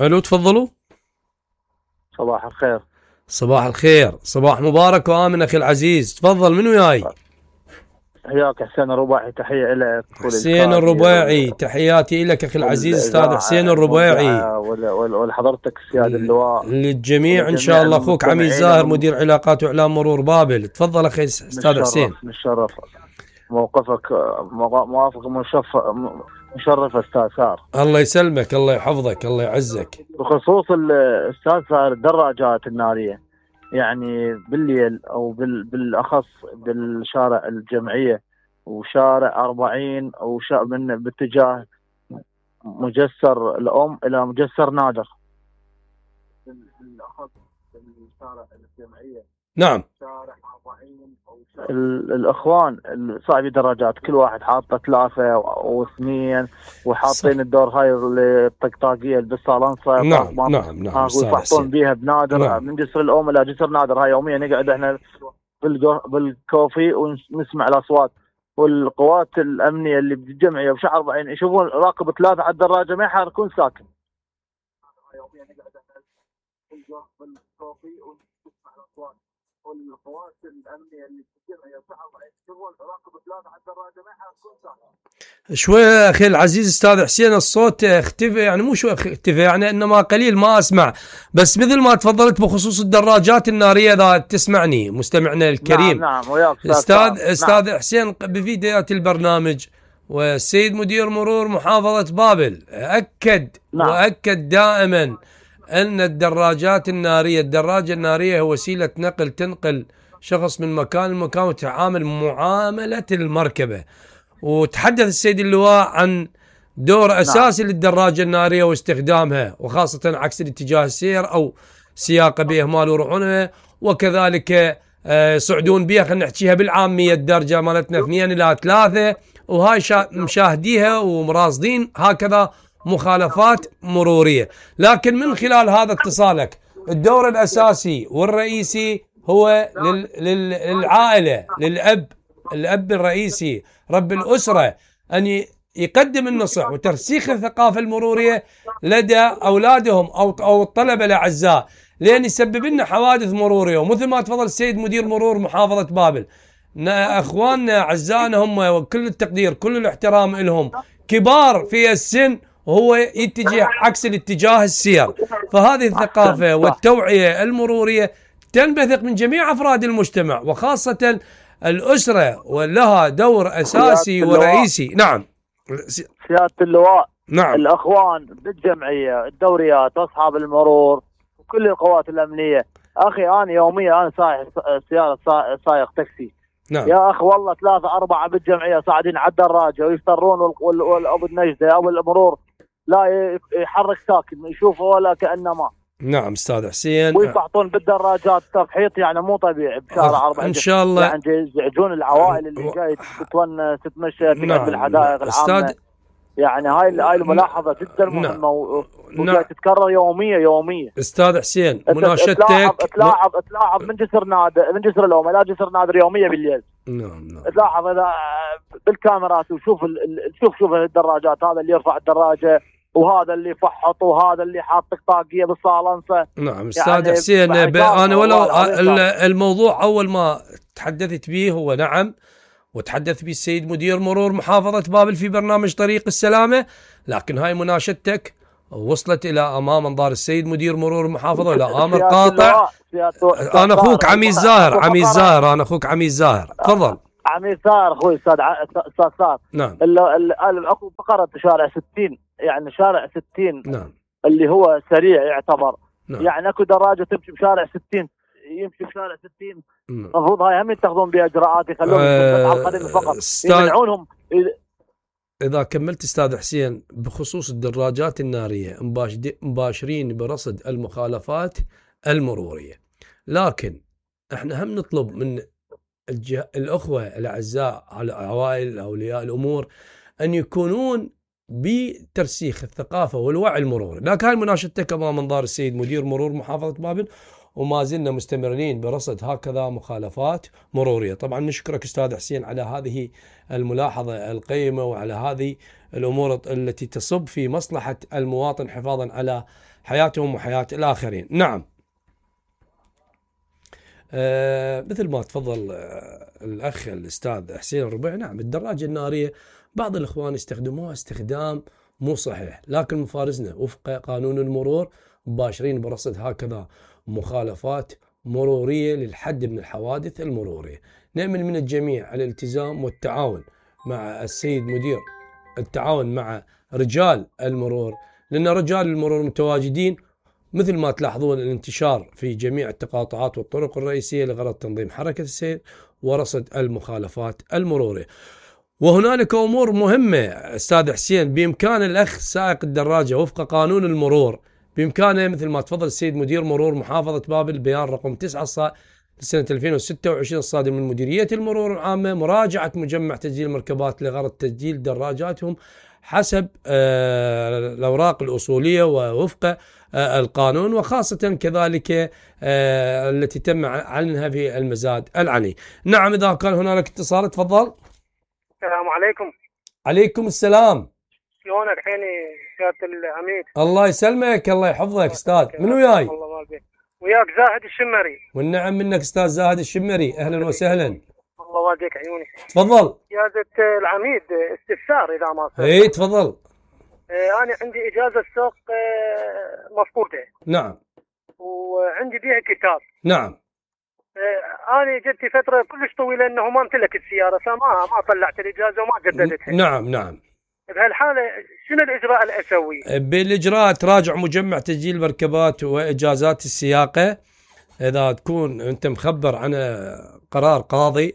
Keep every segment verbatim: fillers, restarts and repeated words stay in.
الو تفضلوا. صباح الخير. صباح الخير، صباح مبارك وآمن أخي العزيز. تفضل، منو وياي؟ حياك حسين الرباعي، تحية لك. حسين الرباعي، تحياتي لك أخي العزيز أستاذ حسين الرباعي، ولحضرتك السياد اللواء، للجميع إن شاء الله. أخوك عميد زاهر، مدير علاقات وإعلام مرور بابل. تفضل أخي أستاذ حسين. مشرف موقفك، موافق مشرف مشرف أستاذ سار. الله يسلمك، الله يحفظك، الله يعزك. بخصوص الأستاذ سار الدراجات النارية، يعني بالليل أو بالأخص بالشارع الجمعية وشارع أربعين وشا من باتجاه مجسر الأم إلى مجسر نادر، بالأخص بالشارع الجمعية. نعم. شارع أربعين الإخوان صاحبي دراجات كل واحد حاطه ثلاثة واثنين وحاطين الدور هاي الطقطاقية بالصالونصة. نعم نعم نعم. ويفحطون بيها بنادر. نعم. من جسر الأم إلى جسر نادر، هاي يوميا نقعد احنا بالكوفي ونسمع الأصوات. والقوات الأمنية اللي بالجمعية وشارع أربعين يشوفون راكب ثلاثة على الدراجة ما يحركون ساكن. يوميا نقعد احنا بالكوفي ونسمع الأصوات. والقوات الأمنية اللي بالجمعية وشارع أربعين يشوفون راكب ثلاثة على الدراجة ما يحركون ساكن. شوي أخي العزيز أستاذ حسين، الصوت اختفى، يعني مو شوي اختفى يعني إنما قليل ما أسمع، بس مثل ما تفضلت بخصوص الدراجات النارية إذا تسمعني مستمعنا الكريم. نعم نعم وياك أستاذ أستاذ نعم. حسين بفيديوهات البرنامج والسيد مدير مرور محافظة بابل أكد نعم. وأكد دائما أن الدراجات النارية، الدراجة النارية هو وسيلة نقل تنقل شخص من مكان لمكان وتعامل معاملة المركبة. وتحدث السيد اللواء عن دور أساسي نعم. للدراجة النارية واستخدامها، وخاصة عكس الاتجاه السير أو سياقة بإهمال ورعونها، وكذلك يصعدون بها، خلينا نحكيها بالعامية الدرجة مالتنا اثنين إلى ثلاثة، وهاي مشاهديها ومراصدين هكذا مخالفات مرورية. لكن من خلال هذا اتصالك، الدور الأساسي والرئيسي هو لل... لل... للعائلة، للأب، الأب الرئيسي رب الأسرة، أن يقدم النصح وترسيخ الثقافة المرورية لدى أولادهم أو أو الطلبة الأعزاء، لأن يسبب لنا حوادث مرورية. ومثل ما تفضل السيد مدير مرور محافظة بابل، أخواننا أعزائنا هم وكل التقدير كل الاحترام لهم، كبار في السن وهو يتجه عكس الاتجاه السير. فهذه الثقافة والتوعية المرورية تنبثق من جميع أفراد المجتمع، وخاصة الأسرة، ولها دور أساسي ورئيسي. نعم سيادة اللواء. نعم. الأخوان بالجمعية، الدوريات، أصحاب المرور، كل القوات الأمنية. أخي أنا يوميا أنا سائق سيارة سائق تاكسي. نعم. يا أخي والله ثلاثة أربعة بالجمعية صاعدين على الدراجة ويفترون، والأبو النجدة أو الأمرور لا يحرك ساكن، يشوفه ولا كأنما. نعم استاذ حسين. ويفحطون بالدراجات تفحيط يعني مو طبيعي بشارع أربعة ان شاء الله، يعني يزعجون العوائل اللي جاي تتونس تتمشى تقعد نعم. بالحدائق العامة. أستاذ يعني هاي هاي الملاحظة جدا مهمة نعم. وجاي تتكرر يوميا يوميا. استاذ حسين مناشدتك تلاحظ تلاحظ تلاحظ من جسر نادر، من جسر الأم إلى جسر نادر يوميا بالليل. نعم نعم. تلاحظ إذا بالكاميرات وشوف ال... شوف شوف الدراجات، هذا اللي يرفع الدراجة وهذا اللي يفحط وهذا اللي حاط طقطاقية بالصالنصة. نعم استاذ يعني حسين، انا ولو الموضوع اول ما تحدثت به هو نعم، وتحدث به السيد مدير مرور محافظة بابل في برنامج طريق السلامة، لكن هاي مناشدتك وصلت الى امام انظار السيد مدير مرور المحافظة الى امر قاطع. انا اخوك عميد زاهر، عميد زاهر انا اخوك عميد زاهر. تفضل عميد زاهر اخوي استاذ استاذ صار. نعم. اكو فقرة شارع ستين، يعني شارع ستين نعم اللي هو سريع يعتبر. نعم. يعني اكو دراجة تمشي بشارع ستين، يمشي بشارع ستين، المفروض هاي هم يتخذون بها اجراءات، يخلوهم أه على القدم فقط، يمنعونهم. اذا كملت استاذ حسين بخصوص الدراجات النارية، مباشرين برصد المخالفات المرورية، لكن احنا هم نطلب من الأخوة الأعزاء على عوائل أولياء الأمور أن يكونون بترسيخ الثقافة والوعي المروري. لكن هاي مناشدتك أمام منظار السيد مدير مرور محافظة بابل، وما زلنا مستمرين برصد هكذا مخالفات مرورية. طبعا نشكرك أستاذ حسين على هذه الملاحظة القيمة وعلى هذه الأمور التي تصب في مصلحة المواطن حفاظا على حياتهم وحياة الآخرين. نعم، آه مثل ما تفضل آه الأخ الأستاذ حسين الربيع، نعم الدراجة النارية بعض الإخوان يستخدموها استخدام مو صحيح، لكن مفارزنا وفق قانون المرور مباشرين برصد هكذا مخالفات مرورية للحد من الحوادث المرورية. نأمل من الجميع الالتزام والتعاون مع السيد مدير، التعاون مع رجال المرور، لأن رجال المرور متواجدين مثل ما تلاحظون الانتشار في جميع التقاطعات والطرق الرئيسية لغرض تنظيم حركة السير ورصد المخالفات المرورية. وهنالك أمور مهمة أستاذ حسين بإمكان الأخ سائق الدراجة وفق قانون المرور، بإمكانه مثل ما تفضل السيد مدير مرور محافظة بابل بيان رقم تسعة لسنة ألفين وستة وعشرين الصادر من مديرية المرور العامة، مراجعة مجمع تسجيل المركبات لغرض تسجيل دراجاتهم حسب آه الأوراق الأصولية ووفق آه القانون، وخاصة كذلك آه التي تم عنها في المزاد العني. نعم، إذا كان هنالك اتصال تفضل. السلام عليكم. عليكم السلام. شلونك حيني سيادة العميد؟ الله يسلمك، الله يحفظك أستاذ. من وياي؟ الله وياك زاهد الشمري. والنعم منك أستاذ زاهد الشمري، أهلا وسهلا. الله والديك عيوني. تفضل. سيادة العميد استفسار إذا ما صار. إيه تفضل. آه أنا عندي إجازة سوق آه مفقودة. نعم. وعندي بيها كتاب. نعم. آه أنا جدتي فترة كلش طويلة إنه ما امتلك السيارة، فما ما طلعت الإجازة وما جددتها. نعم نعم. بهالحالة شنو الإجراء اللي أسويه؟ بالإجراء تراجع مجمع تسجيل مركبات وإجازات السياقة، إذا تكون أنت مخبر عن قرار قاضي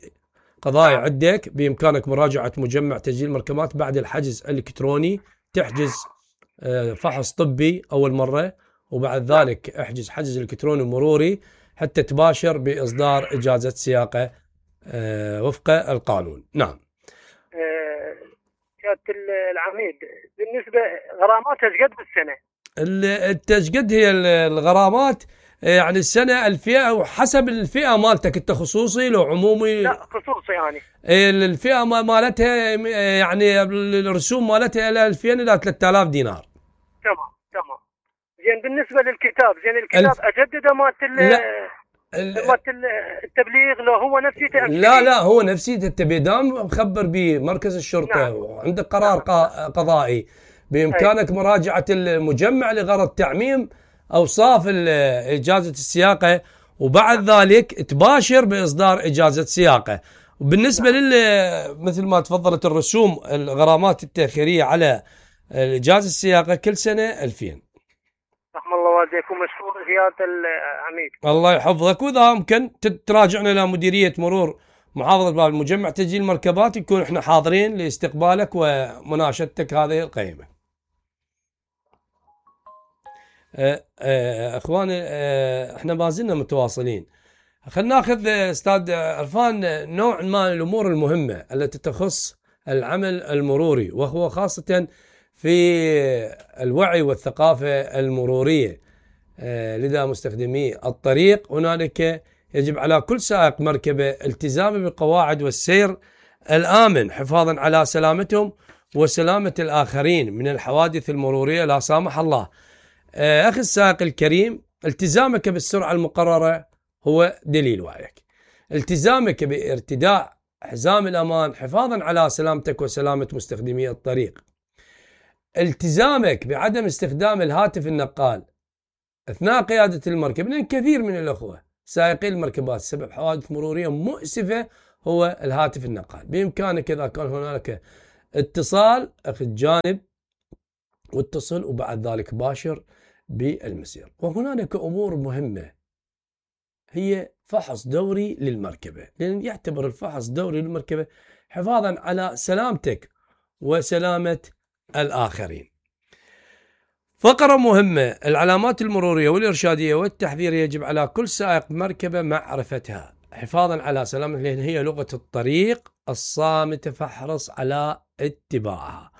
قضائي عندك بإمكانك مراجعة مجمع تسجيل مركبات بعد الحجز الإلكتروني، تحجز فحص طبي أول مرة، وبعد ذلك احجز حجز إلكتروني مروري حتى تباشر بإصدار إجازة سياقة وفق القانون. نعم. سيادة العميد بالنسبة غراماتها ايش قد بالسنة؟ التشقد هي الغرامات يعني السنة الفئة وحسب الفئة مالتك، انت خصوصي لو عمومي؟ لا خصوصي يعني. الفئة مالتها يعني الرسوم مالتها الى ألفين الى ثلاثة آلاف دينار. تمام تمام. زين بالنسبة للكتاب، زين الكتاب الف... اجدده مالت مالت التبليغ لو هو نفسيته؟ لا لا هو نفسيته التبليغ دام مخبر بمركز الشرطة. نعم. وعندك قرار نعم. قضائي بإمكانك أي. مراجعة المجمع لغرض تعميم أوصاف إجازة السياقة، وبعد ذلك تباشر بإصدار إجازة سياقة. وبالنسبة نعم. لل مثل ما تفضلت الرسوم الغرامات التأخيرية على إجازة السياقة كل سنة ألفين. رحم الله والديكم، مشكور زيادة العميد. الله يحفظك. وإذا ممكن تراجعنا إلى مديرية مرور محافظة بابل مجمع تسجيل مركبات، يكون إحنا حاضرين لاستقبالك ومناشدتك هذه القيمة. أه أه اخواني أه احنا ما زلنا متواصلين. خلينا ناخذ استاذ عرفان نوع ما من الامور المهمه التي تخص العمل المروري، وهو خاصه في الوعي والثقافه المروريه أه لدى مستخدمي الطريق. هنالك يجب على كل سائق مركبه التزامه بقواعد والسير الامن حفاظا على سلامتهم وسلامه الاخرين من الحوادث المروريه لا سامح الله. أخي السائق الكريم، التزامك بالسرعة المقررة هو دليل وعيك. التزامك بارتداء حزام الأمان حفاظا على سلامتك وسلامة مستخدمي الطريق. التزامك بعدم استخدام الهاتف النقال أثناء قيادة المركب، لأن كثير من الأخوة سائقي المركبات سبب حوادث مرورية مؤسفة هو الهاتف النقال. بإمكانك إذا كان هنالك اتصال أخذ جانب واتصل وبعد ذلك باشر بالمسير. وهنالك أمور مهمة هي فحص دوري للمركبة، لأن يعتبر الفحص دوري للمركبة حفاظا على سلامتك وسلامة الآخرين. فقرة مهمة، العلامات المرورية والإرشادية والتحذيرية يجب على كل سائق مركبة معرفتها حفاظا على سلامتك، لأن هي لغة الطريق الصامتة فاحرص على اتباعها.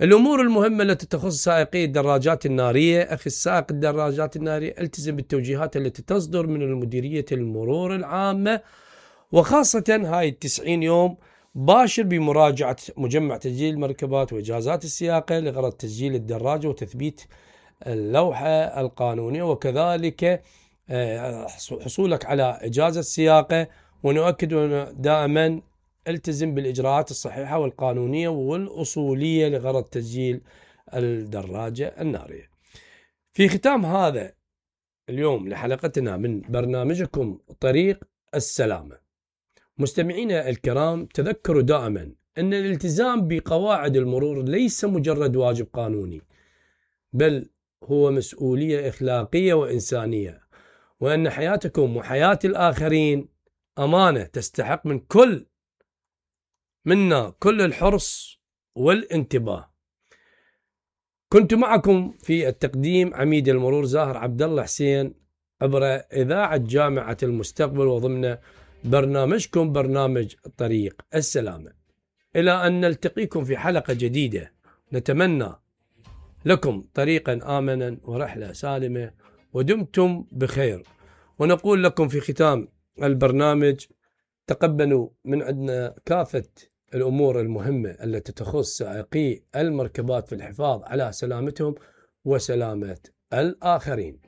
الأمور المهمة التي تخص سائقي الدراجات النارية. أخي السائق الدراجات النارية، التزم بالتوجيهات التي تصدر من المديرية المرور العامة، وخاصة هاي التسعين يوم. باشر بمراجعة مجمع تسجيل المركبات وإجازات السياقة لغرض تسجيل الدراجة وتثبيت اللوحة القانونية، وكذلك حصولك على إجازة سياقة. ونؤكد دائما التزم بالإجراءات الصحيحة والقانونية والأصولية لغرض تسجيل الدراجة النارية. في ختام هذا اليوم لحلقتنا من برنامجكم طريق السلامة، مستمعينا الكرام، تذكروا دائما أن الالتزام بقواعد المرور ليس مجرد واجب قانوني، بل هو مسؤولية إخلاقية وإنسانية، وأن حياتكم وحياة الآخرين أمانة تستحق من كل منا كل الحرص والانتباه. كنت معكم في التقديم عميد المرور زاهر عبد الله حسين عبر إذاعة جامعة المستقبل، وضمن برنامجكم برنامج طريق السلامة. إلى أن نلتقيكم في حلقة جديدة، نتمنى لكم طريقا آمنا ورحلة سالمة، ودمتم بخير. ونقول لكم في ختام البرنامج تقبلوا من عندنا كافة الأمور المهمة التي تخص سائقي المركبات في الحفاظ على سلامتهم وسلامة الآخرين.